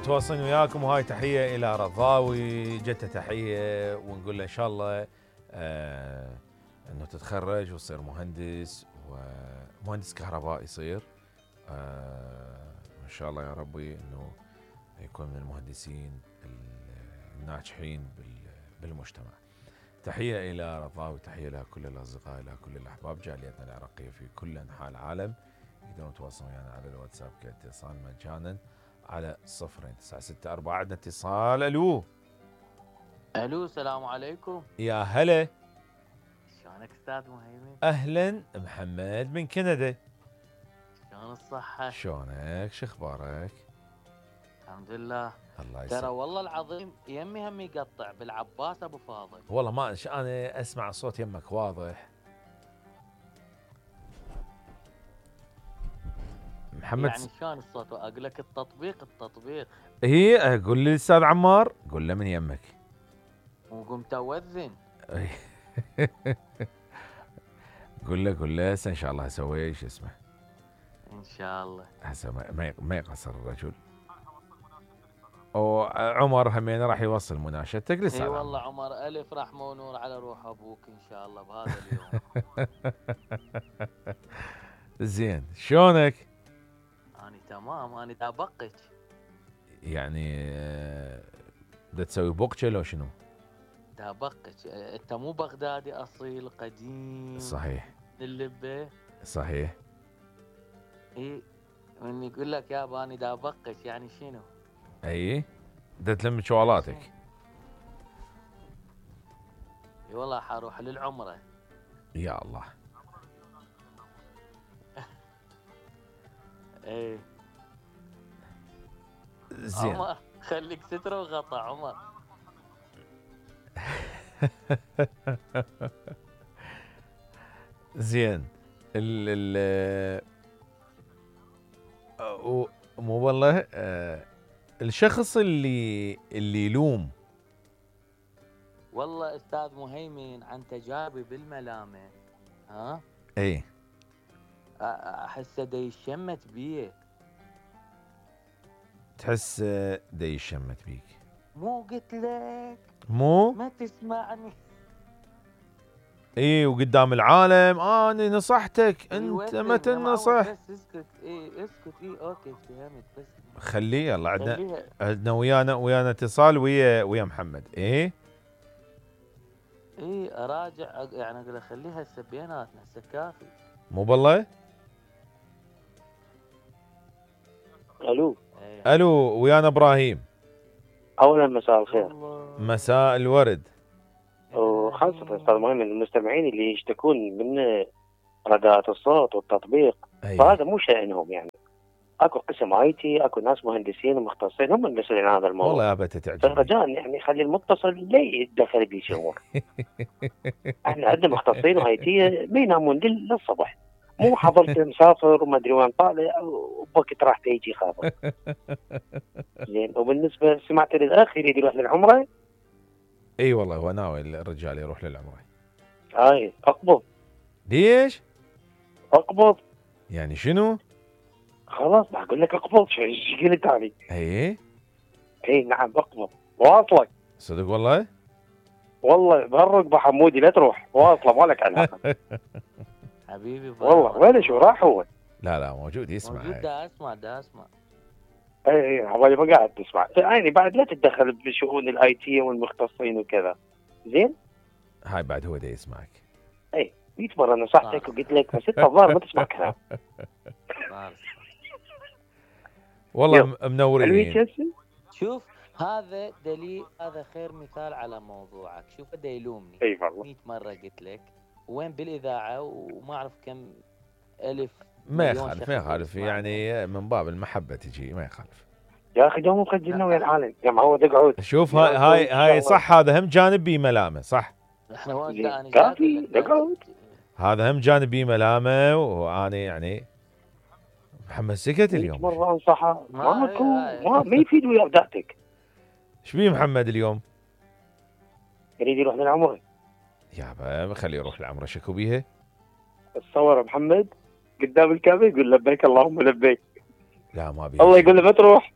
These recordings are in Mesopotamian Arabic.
متواصلين وياكم، وهاي تحيه الى رضاوي، جته تحيه ونقول له ان شاء الله انه تتخرج وتصير مهندس، ومهندس كهرباء يصير ان شاء الله يا ربي، انه يكون من المهندسين الناجحين بالمجتمع. تحيه الى رضاوي، تحيه الى كل الاصدقاء، الى كل الاحباب جاليتنا العراقيه في كل انحاء العالم. يقدرون يتواصلون ويانا على الواتساب كاتصال مجانا على 0964. عندنا اتصال. الو السلام عليكم. يا هلا، شلونك استاذ مهيمن؟ اهلا، محمد من كندا. شلون الصحة؟ شلونك؟ شخبارك؟ الحمد لله. الله يسلمك. ترى والله العظيم يمي هم يقطع بالعباس ابو فاضل. والله ما انا اسمع صوت يمك واضح. محمد يعني شلون الصوت؟ اقول لك التطبيق هي اقول لي الاستاذ عمار، قول له من يمك وقمت اوذن. قول له هسه ان شاء الله اسوي شو اسمه ان شاء الله. هسه ما يقصر الرجل. وعمر همين راح يوصل مناشدتك لسه. اي والله عمر الف رحمه ونور على روح ابوك ان شاء الله بهذا اليوم. زين، شلونك؟ اني تمام، اني دا بقك. يعني دا تسوي بوقشه لو شنو؟ دا بقك. انت مو بغدادي اصيل قديم؟ صحيح. اللبه. صحيح. اي من يقول لك يابا اني دا بقك يعني شنو؟ اي دا تلم شوالاتك. اي والله حروح للعمره. يا الله. ايه زين. عمر خليك ستره وغطا عمر. زين. ال مو والله الشخص اللي يلوم. والله استاذ مهيمن عن تجاربي بالملامه، ها؟ اي احسه دا يشمت بيه. تحس دا يشمت بيك؟ مو قلت لك مو ما تسمعني؟ اي وقدام العالم انا نصحتك، انت ما تنصح. بس اسكت. اسكت. اوكي فهمت. بس خليه. يلا عندنا ويانا اتصال ويا محمد. اي اراجع يعني اقول له خليها هسه بيناتنا هسه كافي. مو بالله. الو ويانا ابراهيم. اولا مساء الخير. مساء الورد. وخاصة استاذ مهم المستمعين اللي يشتكون من رداءة الصوت والتطبيق، فهذا مو شأنهم. يعني اكو قسم اي تي، اكو ناس مهندسين ومختصين هم المسؤولين عن هذا الموضوع. والله ابى تعجبني. فرجاء يعني خلي المتصل لا يتدخل بشؤون. احنا عندنا مختصين واي تي ما ينامون للصبح، مو حضرت مسافر وما ادري وين طالع وبوقت راح يجي خابر. زين. وبالنسبه سمعت للاخ يريد يروح للعمره. اي والله هو ناوي الرجال يروح للعمره. اقبض. ليش؟ اقبض يعني شنو؟ خلاص بقول لك اقبض. شو قلت علي؟ اي نعم اقبض. واصلك صدق والله بهالركبه حمودي لا تروح، واصله مالك علاقه. حبيبي والله وين شو راح هو؟ لا موجود يسمع. موجود. دا اسمع. اي حوالي ما قاعد تسمع. يعني بعد لا تتدخل بشؤون الاي تي والمختصين وكذا. زين. هاي بعد هو دا يسمعك. 100 مرة نصحتك وقلت لك بس انت الظاهر ما تسمع كلام. والله منورين. شوف هذا دليل، هذا خير مثال على موضوعك. شوف دا يلومني. اي والله 100 مرة قلت لك وين بالاذاعة وما اعرف كم الف. ما يخالف يعني من باب المحبة تجي، ما يخالف. يا اخي دوم مسجلنا ويا العالم يا معود اقعد. شوف هاي صح، هذا هم جانب بي ملامة. صح احنا كافي اقعد. هذا هم جانب بي ملامة. وانا يعني محمد سكت اليوم. مرة انصحه ما يفيد ويا ابداعتك. ايش بيه محمد اليوم؟ يريد يروح للعمره. يابا خليه يروح العمره. شكو بيها؟ تصور محمد قدام الكعبه يقول لبيك اللهم لبيك. لا ما بيه. الله يقول له ما تروح.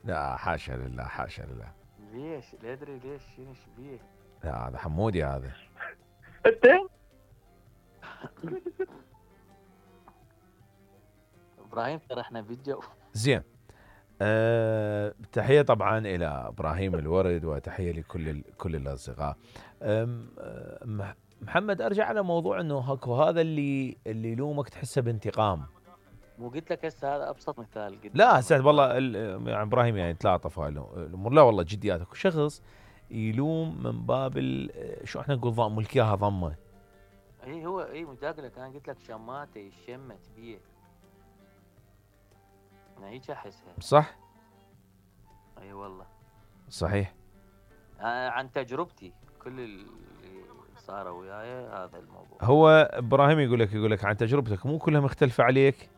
لا حاشا لله حاشا لله. ليش؟ لا ادري ليش، شنو بيه؟ لا هذا حمودي هذا. انت ابراهيم ترى احنا فيديو. زين. تحية طبعا إلى إبراهيم الورد، وتحية لكل كل الأصدقاء. محمد أرجع على موضوع إنه هاكو هذا اللي يلومك تحسه بانتقام. مو قلت لك هسه هذا ابسط مثال قلت لا هسه والله يعني إبراهيم يعني تلاطف هاي الأمور. لا والله جديات. اكو شخص يلوم من باب شو احنا نقول ضم ملكيها ضمه. اي هو اي متاكد لك، انا قلت لك شماته يشمت بيه. انا هيك احسها. صح؟ اي والله صحيح. عن تجربتي كل اللي صار وياي هذا الموضوع. هو ابراهيم يقول لك عن تجربتك مو كلها مختلفة عليك.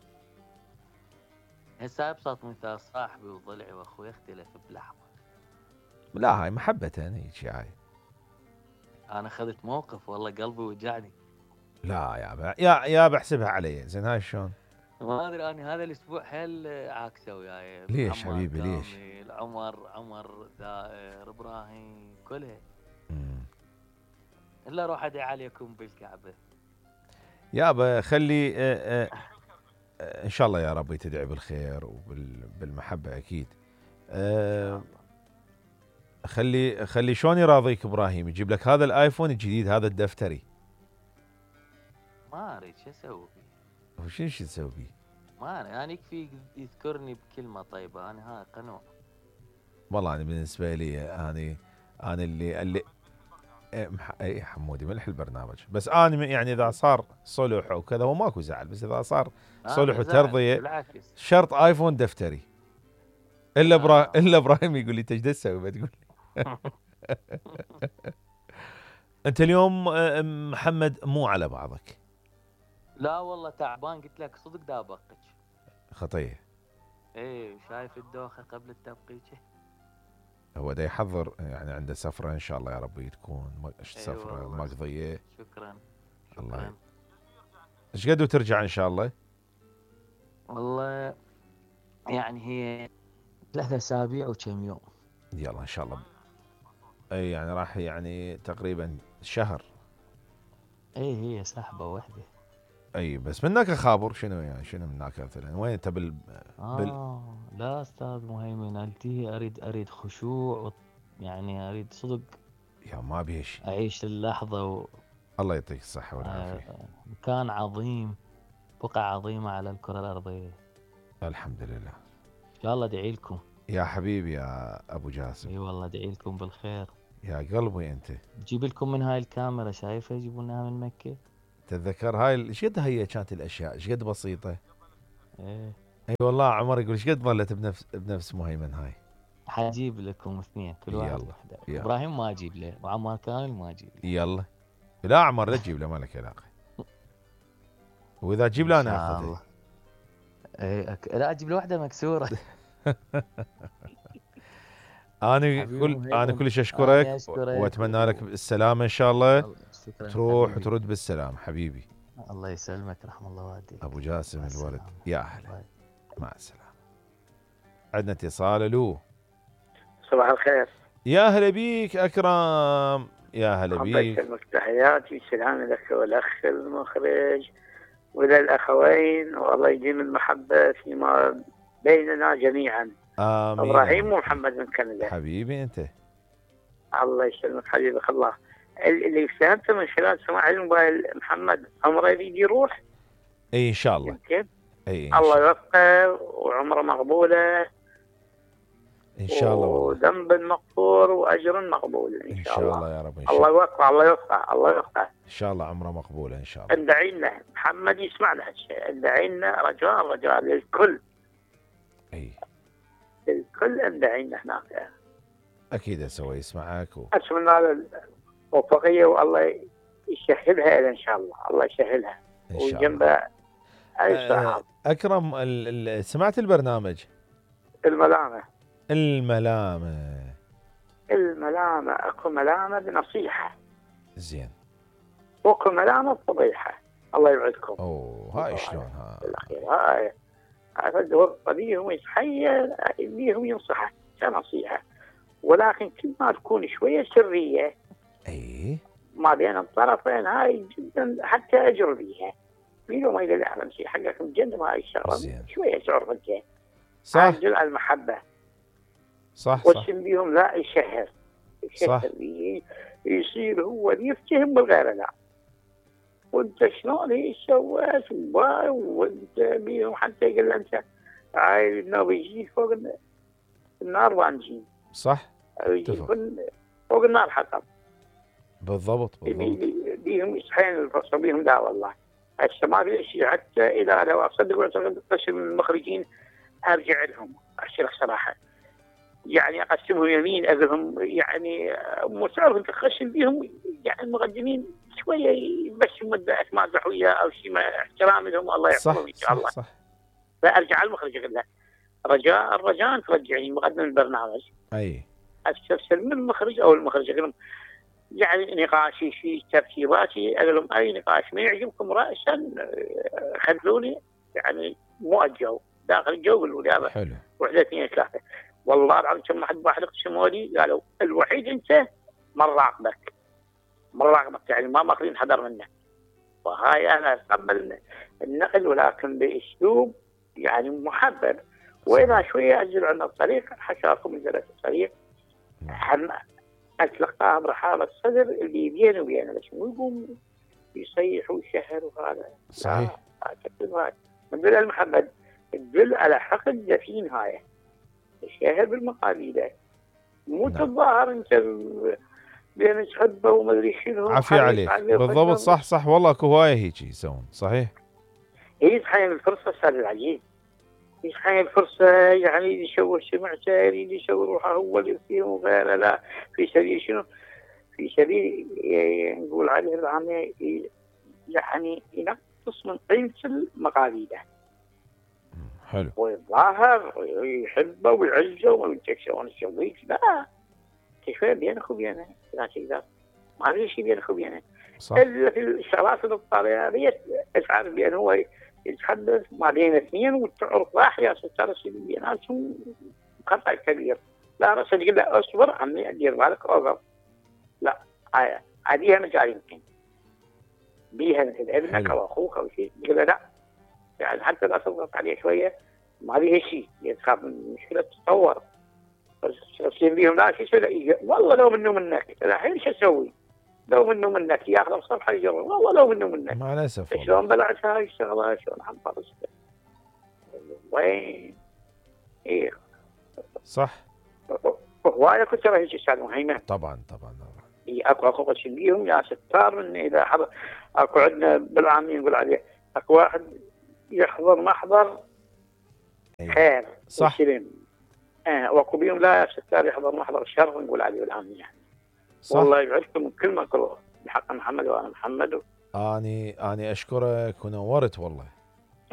هسه ابسط مثال، صاحبي وضلعي واخوي اختلف بلحظه. لا هاي محبة هيك هاي. انا اخذت موقف والله قلبي وجعني. لا يا بحسبها علي. زين هاي شلون؟ ما ادري انا هذا الاسبوع حيل عاكسه وياي. ليش حبيبي ليش؟ عمر دائر ابراهيم كلها. الا اروح ادعي عليكم بالكعبه. يابا خلي ان شاء الله يا ربي تدعي بالخير وبالمحبه اكيد. خلي شلون يراضيك ابراهيم يجيب لك هذا الايفون الجديد هذا الدفتري. ما اريد شو اسوي فيه. وشو تسوي فيه؟ ما انا يكفي يذكرني بكلمه طيبه، انا هاي قنوع. والله انا بالنسبه لي انا اللي اي حمودي ملح البرنامج. بس انا يعني اذا صار صلح وكذا هو ماكو زعل، بس اذا صار صلح وترضيه شرط ايفون دفتري. الا ابراهيم يقول لي ايش تسوي بتقول لي. انت اليوم محمد مو على بعضك. لا والله تعبان، قلت لك صدق دابقك. خطيه. ايه شايف الدوخه قبل التبقيجه. هو دا يحضر يعني عنده سفره ان شاء الله يا ربي تكون سفره مقضيه. شكرا. الله. ايش قد وترجع ان شاء الله؟ والله يعني هي 3 أسابيع وكم يوم. يلا ان شاء الله. اي يعني راح يعني تقريبا شهر. اي هي سحبه واحده. اي بس منك خابر شنو يعني شنو منك مثلا وين انت لا استاذ مهيمن التي اريد خشوع يعني اريد صدق. يا ما بيش اعيش اللحظه الله يعطيك الصحه والعافيه. مكان عظيم، بقعه عظيمه على الكره الارضيه. الحمد لله. ان شاء الله ادعي لكم يا حبيبي يا ابو جاسم. اي والله ادعي لكم بالخير يا قلبي انت. جيب لكم من هاي الكاميرا شايفها يجيبونها من مكه. تتذكر هاي ايش قد هي كانت الاشياء ايش قد بسيطه. ايه اي والله عمر يقول ايش قد ظلت بنفس مهيمن هاي. حجيب لكم 2 كل واحد وحده. ابراهيم ما اجيب له وعمار كامل ما اجيب له. يلا لا عمر لا تجيب له ما لك علاقه. واذا تجيب له انا اخذه. ايه لا اجيب له واحده مكسوره. انا كلش اشكرك واتمنى لك السلامه ان شاء الله. تروح وترد بالسلام حبيبي. الله يسلمك رحم الله والديك. ابو جاسم الورد يا اهلا. مع السلامه. عندنا اتصال. الو صباح الخير. يا هلا بيك اكرم. يا هلا بيك. الله يسلمك تحياتي والسلام لك والاخ المخرج وللاخوين والله يديم المحبه فيما بيننا جميعا. آمين. ابراهيم ومحمد من كندا. حبيبي انت. الله يسلمك حبيبك الله. اللي فهمته من خلال سماع الموبايل محمد عمره يريد يروح. اي ان شاء الله. اي الله يوفقه وعمره مقبوله ان شاء الله وذنب مغفور واجر مقبول ان شاء الله. يا رب. الله يوفقه الله يوفقه الله يوفقه ان شاء الله. عمره مقبوله ان شاء الله. ادعي لنا محمد يسمعنا هالشيء. ادعي لنا رجاء للكل. اي الكل ادعي لنا هناك. اكيد اسوي يسمعك اتمنى له الموفقيه والله يسهلها ان شاء الله. الله يسهلها وجنبها اكرم سمعت البرنامج الملامه اكو ملامه بنصيحه. زين. واكو ملامه بفضيحه. الله يبعدكم. هاي شلون هاي هذا الدور بيهم يتحيل بيهم ينصحه. كنصيحه، ولكن كل ما تكون شويه سريه اي ما بين الطرفين هاي جدا حتى اجر بيها. بينه ما يقدر يعلم شيء حقك مجنب هاي الشغله زين. شويه تعرف انت. صح تدل على المحبه. صح صح والسم بيهم لا يشهر صح. يصير هو اللي يفتهم بالغير لا. وانت شلون هي سويت وانت بيهم حتى يقول له انت هاي انه بيجيك فوق النار وانجين. صح يجيك فوق النار حطب. بالضبط بالضبط. بيهم يصحين الفرصه بيهم لا والله. هسه ما في شيء حتى اذا لو اصدق واعتقد قسم المخرجين ارجع لهم اشرح صراحه. يعني اقسمهم يمين اقول لهم يعني مو تعرف انت تخشن بيهم يعني المقدمين شويه بس مده مازح وياه او شيء ما احترام لهم الله يحفظهم ان شاء الله. صح. فارجع على المخرج اقول له الرجاء ترجعني مقدم البرنامج. اي استفسر من المخرج او المخرج اقول لهم يعني نقاشي في ترتيباتي اقول لهم اي نقاش ما يعجبكم راسا خلوني يعني مو الجو داخل الجو قولوا لي هذا حلو. وحده اثنين ثلاثه. والله العظيم كم واحد قسموا لي قالوا الوحيد انت ما نراقبك يعني ما ماخذين حذر منك. وهاي انا اتقبل النقل ولكن باسلوب يعني محبب. واذا شويه انزل عن الطريق حشاكم نزلت الطريق اتلقاها برحاب الصدر اللي بيني وبينه بس مو يقوم يصيح ويشهر وهذا. صحيح. تدل المحبه تدل على حقد دفين هاي. الشهر بالمقابله مو تظاهر انت بين تحبه وما ادري شنو. عافية عليك بالضبط. صح صح والله اكو هوايه هيك يسوون. صحيح. هي تحين الفرصه استاذ العزيز. يتحين الفرصه يعني يشوه سمعته يريد يسوي روحه هو اللي فيه وغيره لا في سبيل شنو؟ في سبيل نقول عليه العامة يعني ينقص من قيمة المقاليده. حلو. ويتظاهر ويحبه ويعزه ويقول شلون تسويك لا شويه بينك وبينه لا تقدر ما في شيء بينك وبينه. الا في الشغلات الطبيعيه تعرف بان هو يتحدث ما بين اثنين وتعرف واحد يا ستار بيناتهم خطا كبير. لا راسا تقول له اصبر عمي دير بالك اوفر لا عاديها مجال يمكن بيها مثل ابنك او اخوك او شيء تقول له لا يعني حتى لا تضغط عليه شويه ما بيها شيء تخاف من المشكله تتطور. بس تصير بيهم لا شيء والله لو منه منك الحين شو اسوي؟ لو منه منك ياخذ الصفحه يجرب والله لو منه منك. مع الاسف شلون بلعت هاي الشغله شلون حنفرسها وين ايه صح. هوايه كنت ترى هيك استاذ مهيمن. طبعا اكو قسم بيهم يا ستار من اذا حضر اكو عندنا بالعامين نقول عليه اكو واحد يحضر محضر خير صح. واكو بيهم لا يا ستار يحضر محضر شر نقول عليه بالعامين يعني. صح. والله يبعدكم من كل ما كروه بحق محمد وانا محمد اني اشكرك ونورت والله.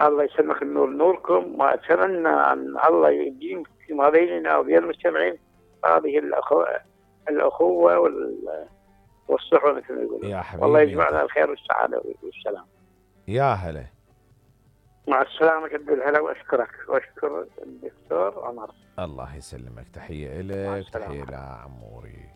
الله يسلمك النور نوركم. واتمنى ان الله يديم فيما بيننا وبين المستمعين هذه الاخوه والصحبه مثل ما يقولون. يا حبيبي والله يجمعنا الخير والسعاده والسلام. يا هلا. مع السلامه قد الهلا واشكرك واشكر الدكتور عمر. الله يسلمك. تحيه لك. تحيه لعموري.